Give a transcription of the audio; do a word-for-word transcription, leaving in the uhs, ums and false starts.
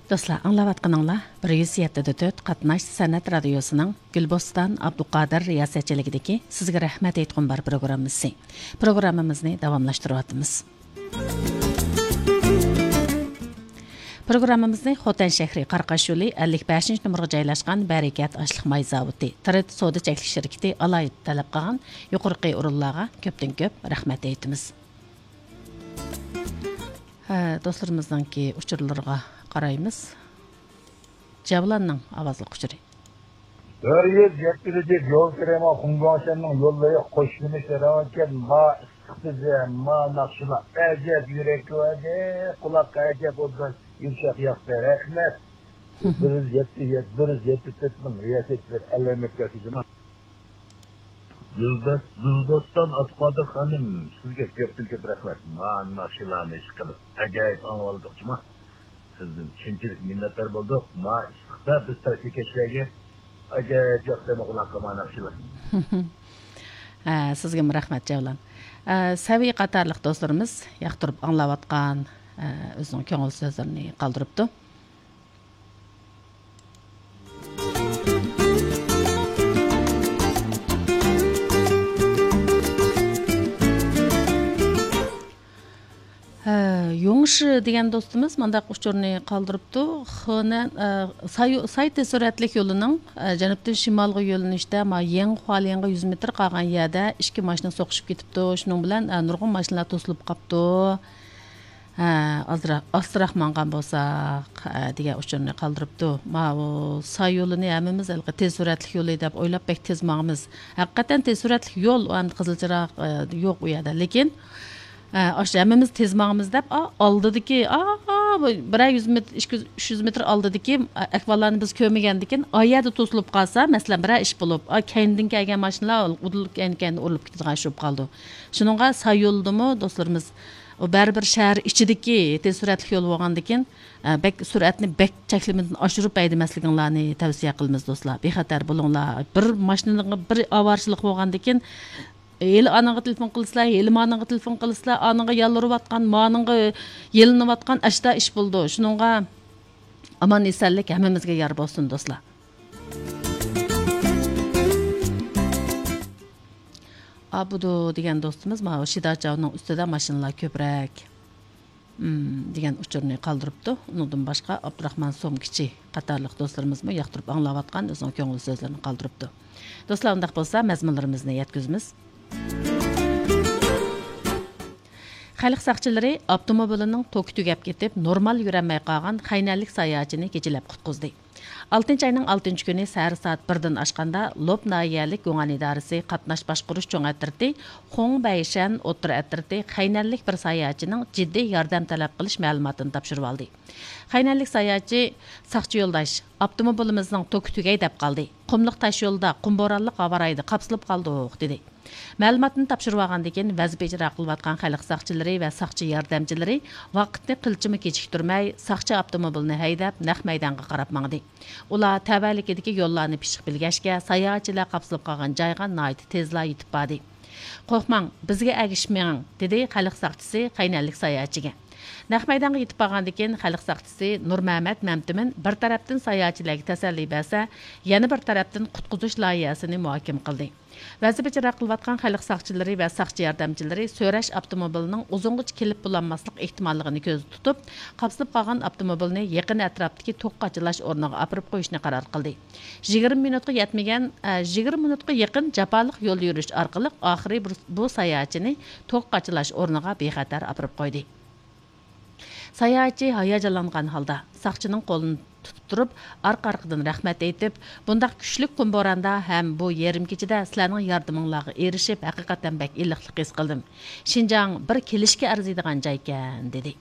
دوستلار، ئاڭلاۋاتقىنىڭلار بىر يۈز يەتتە دە تۆت قاتناش سەنئەت رادىيوسىنىڭ گۈلبوستان ئابدۇقادىر رىياسەتچىلىكىدىكى سىزگە رەھمەت ئېيتقۇم بار پروگراممىسى. پروگراممىمىزنى داۋاملاشتۇرۇۋاتىمىز. پروگراممىمىزنى خوتەن شەھىرى قاراقاش يولى ئەللىك بەشىنچى نومۇرغا جايلاشقان بەرىكەت ئاشلىق ماي زاۋۇتى، ترېد سودا چەكلىك شىركىتى ئالاھىدە تەلەپ قىلغان يۇقىرىقى ئورۇنلارغا كۆپتىن كۆپ رەھمەت ئېيتىمىز. ھە، دوستلىرىمىزنىڭكى ئۇچۇرلىرىغا قارايمىز. جەۋلاننىڭ ئاۋازلىق ئۇچۇرى. بىر يۈز يەتتە يول كىرىمى خۇڭگاڭشەننىڭ يوللىرى قوشۇلمىش رەڭكەن ما ئىسسىق تۈزە، ما ناخشىلار ئەجەب يۈرەك كۆرەدى، قۇلاققا ئەجەب ئوبدان يۇمشاق ياقتى. رەھمەت. بىر يۈز يەتتە، بىر يۈز يەتتە تۆت مىڭ رىياسەتچىلەر ئەلەمەتكە خىزمەت. گۈلدەس-، گۈلدەستان ئابدۇقادىر خانىم، سىزگە كۆپتىن كۆپ رەھمەت. مانا شۇلارنى ئىش قىلىپ، ئاجايىپ ئاڭلىۋالدۇق جۇما. سىزدىن شۇنچىلىك مىننەتدار بولدۇق. ما ئىسسىقتا بىز تەركىكەشلەرگە ئاجايىپ ياقتى قۇلاققا مانا شۇلار. ھە، سىزگىمۇ رەھمەت، جەۋلان. ئە، سەۋىي قاتارلىق دوستلىرىمىز ياقتۇرۇپ ئاڭلاۋاتقان، ئە، ئۆزىنىڭ كۆڭۈل سۆزلىرىنى قالدۇرۇپتۇ. ھە، يۇڭشى دېگەن دوستىمىز مۇنداق ئۇچۇرنى قالدۇرۇپتۇ. خېنەن، ئە، سايو-، ساي تېز سۈرئەتلىك يولىنىڭ، ئە، جەنۇبتىن شىمالغا يۆنىلىشتە، ما، يېڭخۇالىڭغا يۈز مېتىر قالغان يەردە ئىككى ماشىنا سوقۇشۇپ كېتىپتۇ. شۇنىڭ بىلەن، ئە، نۇرغۇن ماشىنىلار توسۇلۇپ قاپتۇ. ھە، ئازراق، ئاستىراق ماڭغان بولساق، ھە، دېگەن ئۇچۇرنى قالدۇرۇپتۇ. ماۋۇ ساي يولىنى ھەممىمىز ھېلىقى تېز سۈرئەتلىك يولى دەپ ئويلاپ بەك تېز ماڭىمىز. ھەقىقەتەن تېز سۈرئەتلىك يول، ئۇ ئەمدى قىزىل چىراغ، ئە، يوق ئۇ يەردە. لېكىن، ئە، ئاشۇ ھەممىمىز تېز ماڭىمىز دەپ، ئا، ئالدىدىكى، ئا، بىرەر يۈز مېتىر، ئىككى يۈز، ئۈچ يۈز مېتىر ئالدىدىكى، ئە، ئەھۋاللارنى بىز كۆرمىگەندىكىن، ئا يەردە توسۇلۇپ قالسا، مەسىلەن، بىرەر ئىش بولۇپ، ئا، كەينىدىن كەلگەن ماشىنىلار ئۇدۇل كەينى-كەينىدىن ئۇرۇلۇپ كېتىدىغان ئىش بولۇپ قالىدۇ. شۇنىڭغا ساي يولىدىمۇ دوستلىرىمىز ئۇ بەرىبىر شەھەر ئىچىدىكى تېز سۈرئەتلىك يول بولغاندىكىن، ئە، بەك سۈرئەتنى بەك چەكلىمىدىن ئاشۇرۇپ ھەيدىمەسلىكىڭلارنى تەۋسىيە قىلىمىز دوستلار. بىخەتەر بولۇڭلار. بىر ماشىنىغا بىر ئاۋارىچىلىك بولغاندىكىن، ھېلى ئانىڭغا تېلېفون قىلىسىلەر، ھېلى مانىڭغا تېلېفون قىلىسىلەر، ئانىڭغا يالۋۇرۇۋاتقان، مانىڭغا يېلىنىۋاتقان ئاشتا ئىش بولىدۇ. شۇنىڭغا ئامان ئېسەنلىك ھەممىمىزگە يار بولسۇن دوستلار. ئابدۇ دېگەن دوستىمىز ماۋۇ شىداچاۋنىڭ ئۈستىدە ماشىنىلار كۆپرەك. مم، دېگەن ئۇچۇرنى قالدۇرۇپتۇ. ئۇنىڭدىن باشقا، ئابدۇراخمان سومكىچى قاتارلىق دوستلىرىمىزمۇ ياقتۇرۇپ ئاڭلاۋاتقان ئۆزىنىڭ كۆڭۈل سۆزلىرىنى قالدۇرۇپتۇ. دوستلار، ئۇنداق بولسا، مەزمۇنلىرىمىزنى يەتكۈزىمىز. خەلق ساقچىلىرى ئاپتوموبىلىنىڭ توكى تۈگەپ كېتىپ، نورمال يۈرەلمەي قالغان خەينەنلىك ساياھەتچىنى كېچىلەپ قۇتقۇزدى. ئالتىنچى ئاينىڭ ئالتىنچى كۈنى سەھەر سائەت بىردىن ئاشقاندا، لوپ ناھىيەلىك گۇڭئەن ئىدارىسى قاتناش باشقۇرۇش چوڭ ئەترىتى، خۇڭبەيشەن ئوتتۇرا ئەترىتى خەينەنلىك بىر ساياھەتچىنىڭ جىددىي ياردەم تەلەپ قىلىش مەلۇماتىنى تاپشۇرۇۋالدى. خەينەنلىك ساياھەتچى: «ساقچى يولداش، ئاپتوموبىلىمىزنىڭ توكى تۈگەي دەپ قالدى. قۇملۇق تاش يولدا، قۇم بورانلىق ھاۋارايدا قاپسىلىپ قالدۇق» دېدى. مەلۇماتنى تاپشۇرۇۋالغاندىن كېيىن، ۋەزىپە ئىجرا قىلىۋاتقان خەلق ساقچىلىرى ۋە ساقچى ياردەمچىلىرى ۋاقىتنى قىلچىمۇ كېچىكتۈرمەي، ساقچى ئاپتوموبىلىنى ھەيدەپ، نەق مەيدانغا قاراپ ماڭدى. ئۇلار تەۋەلىكىدىكى يوللارنى پىششىق بىلگەچكە، ساياھەتچىلەر قاپسىلىپ قالغان جايغا ناھايىتى تېزلا يېتىپ باردى. «قورقماڭ، بىزگە ئەگىشىپ مېڭىڭ» دېدى خەلق ساقچىسى خەينەنلىك ساياھەتچىگە. نەق مەيدانغا يېتىپ بارغاندىن كېيىن، خەلق ساقچىسى نۇرمەمەت مەمتىمىن بىر تەرەپتىن ساياھەتچىلەرگە تەسەللى بەرسە، يەنە بىر تەرەپتىن قۇتقۇزۇش لايىھەسىنى مۇھاكىمە قىلدى. ۋەزىپە ئىجرا قىلىۋاتقان خەلق ساقچىلىرى ۋە ساقچى ياردەمچىلىرى سۆرەش ئاپتوموبىلىنىڭ ئۇزۇنغىچە كېلىپ بولالماسلىق ئېھتىماللىقىنى كۆزدە تۇتۇپ، قاپسىلىپ قالغان ئاپتوموبىلنى يېقىن ئەتراپتىكى توك قاچىلاش ئورنىغا ئاپىرىپ قويۇشنى قارار قىلدى. يىگىرمە مىنۇتقا يەتمىگەن، ئە، يىگىرمە مىنۇتقا يېقىن جاپالىق يول يۈرۈش ئارقىلىق، ئاخىرى بۇ، بۇ ساياھەتچىنى توك قاچىلاش ئورنىغا بىخەتەر ئاپىرىپ قويدى. ساياھەتچى ھاياجانلانغان ھالدا ساقچىنىڭ قولىنى تۇتۇپ تۇرۇپ، ئارقا-ئارقىدىن رەھمەت ئېيتىپ، بۇنداق كۈچلۈك قۇم بوراندا ھەم بۇ يېرىم كېچىدە سىلەرنىڭ ياردىمىڭلارغا ئېرىشىپ، ھەقىقەتەن بەك ئىللىقلىق ھېس قىلدىم. شىنجاڭ بىر كېلىشكە ئەرزىيدىغان جايكەن، دېدى.